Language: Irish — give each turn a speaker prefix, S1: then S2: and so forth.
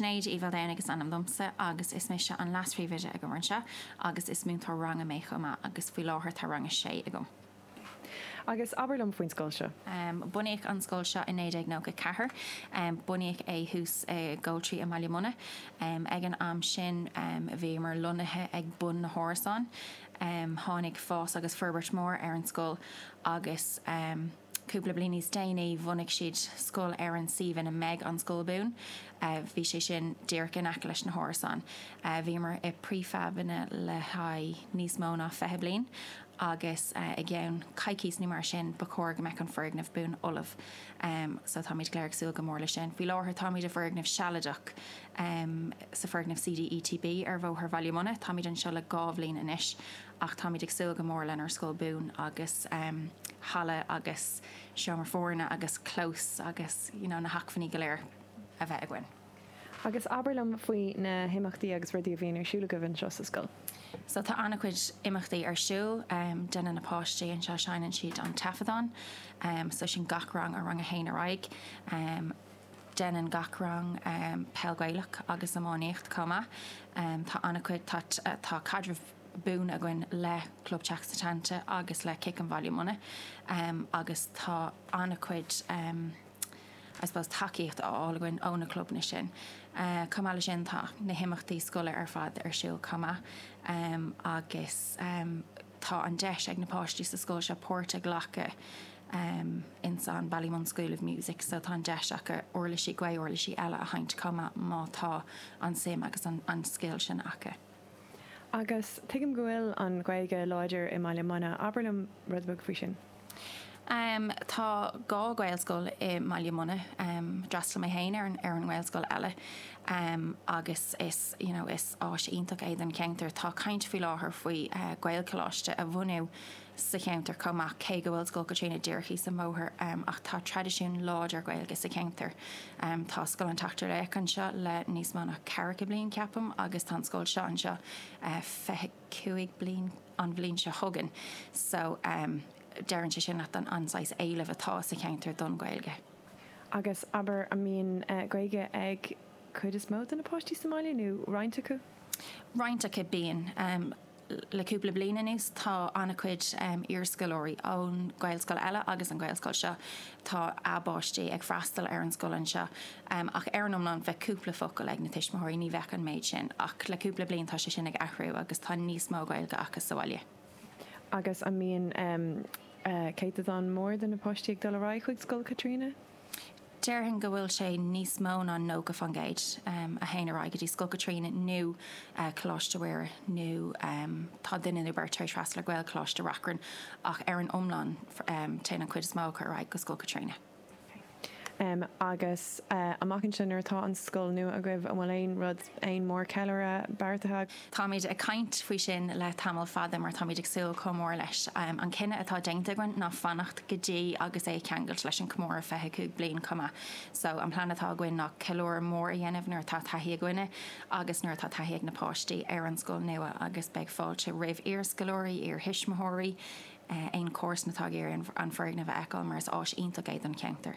S1: Sinéad Uí Mhaoldomhnaigh is ainm domsa agus is mise an leas-phríomhoide agam anseo agus is múinteoir ranga mé chomh maith agus faoi láthair tá rang a sé agam.
S2: Agus abair liom faoin scoil seo.
S1: Bunaíodh an scoil seo i 1994. Bunaíodh é thuas i Goltraí i mBaile Munna. Ag an am sin bhíomar lonnaithe ag bun na hárasán. Tháinig fás agus forbairt mór ar an scoil agus cúpla bliain níos déanaí bhunaigh siad scoil ar an suíomh ina mbeidh an scoil buan. Bhí sé sin díreach in aice leis na hárasáin. Bhíomar i prefabanna le haghaidh níos mó ná 20 bliain agus i gceann coicís nó mar sin ba chóir go mbeadh an foirgneamh buan ullamh. So táimid go léir ag súil go mór leis sin. Faoi láthair táimid i bhfoirgneamh sealadach sa foirgneamh CDETB ar Bhóthar Bhaile Munna. Táimid anseo le dhá bhliain anois ach táimid ag súil go mór lenár scoil buan agus halla agus seomra foirne agus clós agus you know na hacmhainní go léir a bheith againn.
S2: Agus abair liom faoi na himeachtaí agus rudaí a bhíonn ar siúl agaibh anseo sa scoil.
S1: So tá an-chuid imeachtaí ar siúl. Déanann na páistí anseo, seinneann siad an taifeadán. So sin gach rang ó rang a haon ar aghaidh. Déanann gach rang peil Gaelach agus iománaíocht chomh maith. Tá an-chuid, tá, tá caidreamh buan againn le Club Teach Setanta agus le Cic an Bhaile Munna agus tá an-chuid, I suppose, tacaíocht á fháil againn ó na clubanna sin. Chomh maith leis sin tá na himeachtaí scoile ar fad ar siúl chomh maith agus tá an deis ag na páistí sa scoil seo páirt a ghlacadh ins an Ballymun School of Music so tá an deis acu uirlisí, gaoth-uirlisí eile a sheinnt chomh maith má tá an suim agus an scil sin acu.
S2: Agus tuigim go bhfuil an Ghaeilge láidir i mBaile Munna, abair liom rud beag faoi sin.
S1: Tá dhá Ghaelscoil i mBaile Munna. D'fhreastail mé féin ar an ar an nGaelscoil eile agus is you know is áis iontach é don cheantar. Tá caint faoi láthair faoi Ghaelcholáiste a bhunú sa cheantar chomh maith, cé go bhfuil Scoil Chaitríona díreach thíos an bóthar, ach tá traidisiún láidir Gaeilge sa cheantar. Tá Scoil an tSeachtar Laoch anseo le níos mó ná ceathracha bliain, ceapaim, agus tá an scoil seo anseo 25 bliain an bhliain seo chugainn. So, deireann sé sin leat an saghas éilimh atá sa cheantar don Ghaeilge.
S2: Agus abair, an mbíonn Gaeilge ag cuid is mó de na páistí sa mbaile, nó roinnt acu?
S1: Roinnt acu, bíonn. Le cúpla bliain anuas tá an-chuid iarscoláirí ón Ghaelscoil eile agus an Ghaelscoil seo, tá a bpáistí ag freastal ar an scoil anseo. Ach ar an iomlán bheadh cúpla focal ag na tuismitheoirí, ní bheadh an méid sin. Ach le cúpla bliain tá sé sin ag athrú agus tá níos mó Gaeilge acu sa bhaile.
S2: Agus an mbíonn céatadán mór de na páistí ag dul ar aghaidh chuig Scoil Chaitríona?
S1: Déarfainn go bhfuil sé níos mó ná 90% a théann ar aghaidh go dtí Scoil Chaitríona nó Coláiste Mhuire nó tá duine nó beirt tar éis freastal ar Ghaelcholáiste Reachrann ach ar an iomlán téann an chuid is mó acu ar aghaidh go Scoil Chaitríona.
S2: Agus amach anseo nuair atá an scoil nua agaibh, an bhfuil aon rud, aon mhórcheiliúradh beartaithe?
S1: Táimid ag caint faoi sin le tamall fada mar táimid ag súil chomh mór leis. An cinneadh atá déanta againn ná fanacht go dtí agus é a cheangailt leis an comóradh 25 bliain chomh maith. So an plean atá againn ná ceiliúradh mór a dhéanamh nuair atá taithí againne agus nuair atá taithí ag na páistí ar an scoil nua agus beidh fáilte roimh iarscoláirí, iarthuismitheoirí, aon chomharsan atá ag iarraidh an foirgneamh a fheiceáil mar is áis iontach é don cheantar.